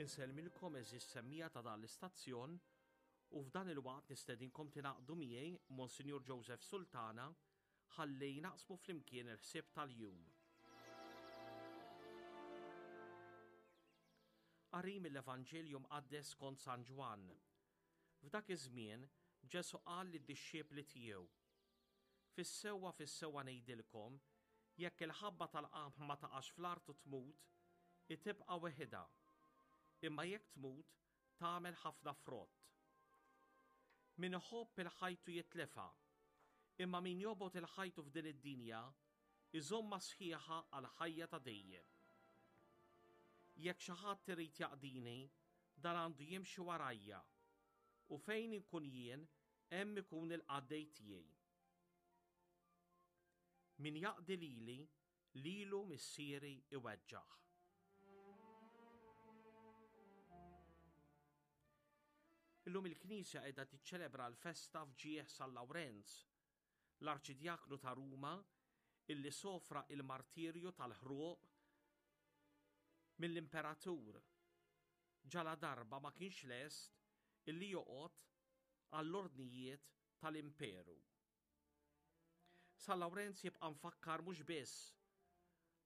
Insellmilkom għeżież semmiegħa ta' dan l-istazzjon u f'dan il-waqt nistedinkom tingħaqdu miegħi Monsinjur Joseph Sultana ħalli naqsmu flimkien il-ħsieb tal-jum. Qari mill-Evanġelju mqaddes skont San Ġwann. F'dak iż-żmien Ġesù qal lid-dixxipli tiegħu, Fis-sewwa fis-sewwa ngħidilkom, jekk il-ħabba tal-qamħ ma taqax fl-art u tmut, hi tibqa' weħidha. Imma jekk tmut, tagħmel ħafna frott. Min iħobb il-ħajtu jitlifha, imma min jobgħod il-ħajtu f'din id-dinja, iżommha sħiħa għall-ħajja ta' dejjem. Jekk xi ħadd irid jaqdini, dan għandu jimxi warajja, u fejn inkun jien, Hemm ikun il-qaddej tiegħi. Min jaqdi lili, lilu missieri iweġġaħ. Illum il-Knisja qiegħda tiċċelebra l-festa f'ġieħ San Lawrenz, l-Arċidjaknu ta' Ruma illi sofra il-martirju tal-ħruq mill-Imperatur ġaladarba ma kienx lest illi joqgħod għall-ordnijiet tal-Imperu. San Lawrenz jibqa' mfakkar mhux biss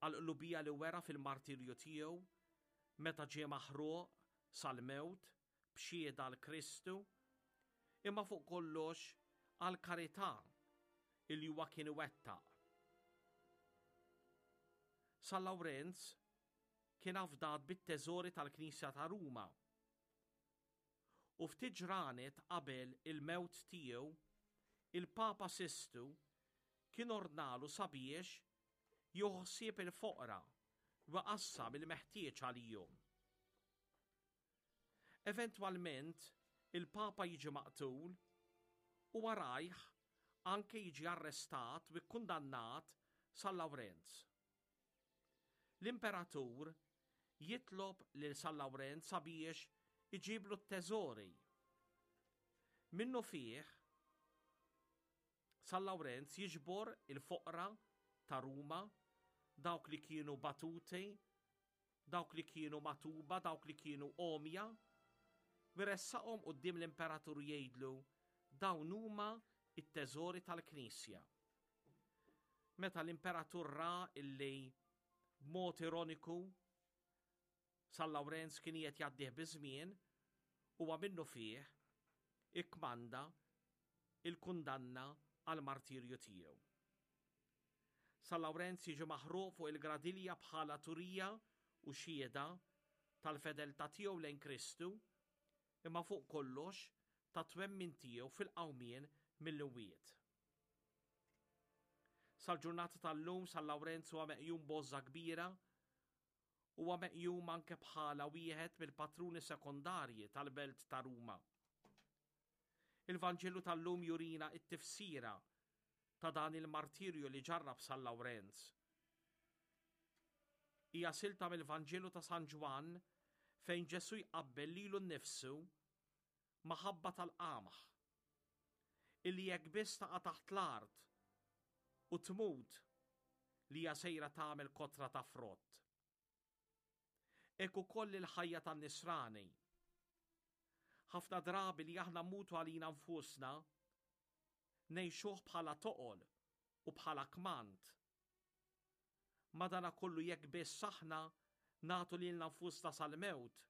għall-qlubija li wera fil-martirju tiegħu meta ġie maħruq sal-mewt b'xhieda għal Kristu, imma fuq kollox għall-karità illi huwa kien iwettaq. San Lawrenz kien afdat bit-teżori tal-Knisja ta' Ruma U ftit ġranet qabel il-mewt tiegħu, il-Papa Sistu kien ordnalu sabiex jieħu ħsieb il-foqra u jqassam il-meħtieġ għalihom. Eventwalment, il-Papa jiġi maqtul u warajh anke jiġi arrestat u kkundannat San Lawrenz. L-imperatur jitlob lil San Lawrenz sabiex iġiblu t-teżori. Minnufih, San Lawrenz jiġbor il-foqra ta' Ruma, dawk li kienu batuti, dawk li kienu matuba, dawk li kienu għomja, u jressaqhom quddiem l-imperatur jgħidlu dawn huma t-teżori tal-Knisja. Meta l-imperatur ra illi b'mod ironiku San Lawrenz kien qiegħed jgħaddih biż-żmien, huwa minnufih ikkmanda il-kundanna għall-martirju tiegħu. San Lawrenz jiġi maħruq fuq il-gradilja bħala turija u xhieda tal-fedeltà tiegħu lejn Kristu, imma fuq kollox tat-twemmin tiegħu fil-qawmien mill-imwiet. Sal-ġurnata tal-lum San Lawrenz huwa meqjum b'għożża kbira. Huwa meqjum anke bħala wieħed mill-patruni sekondarji tal-belt ta' Ruma. Il-Vanġelu tal-lum jurina t-tifsira ta' dan il-martirju li ġarrab San Lawrenz. Hija silta mill-Vanġelu ta' San Ġwann fejn Ġesù jqabbel lilu nnifsu ma' ħabba tal-qamħ illi jekk biss taqa' taħt l-art u tmut li hija sejra tagħmel kotra ta' frott. Hekk ukoll il-ħajja tan-nisrani. Ħafna drabi li aħna mmutu għalina nfusna ngħixuh bħala toqol u bħala kmand. Madanakollu jekk biss aħna nagħtu lilna nfusna sal-mewt,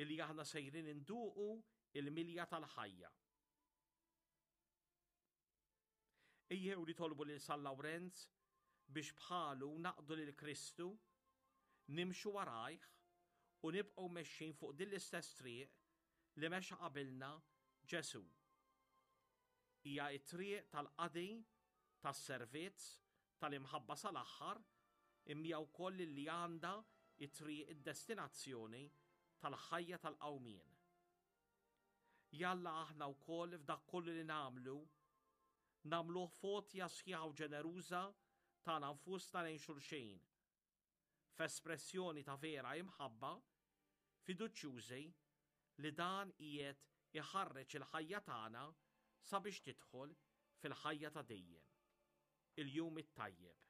illi aħna sejrin induqu il-milja tal-ħajja. Ejjew nitolbu lil San Lawrenz biex bħalu naqdu lil Kristu, nimxu warajh u nibqgħu mexjin fuq din l-istess triq li mexa qabilna Ġesù. Hija t-triq tal-qadi, tas-servizz, tal-imħabba sal-aħħar, imma hija wkoll li għandha t-triq id-destinazzjoni tal-ħajja tal-qawmien. Jalla aħna wkoll f'dak kollu li nagħmlu, nagħmluh f'għotja sħiħa u ġeneruża tagħna nfusna lejn xulxin, f'espressjoni ta' vera imħabba, fiduċjużi li dan qiegħed iħarreġ il-ħajja tagħna sabiex tidħol fil-ħajja ta' dejjem. Il-jum it-tajjeb.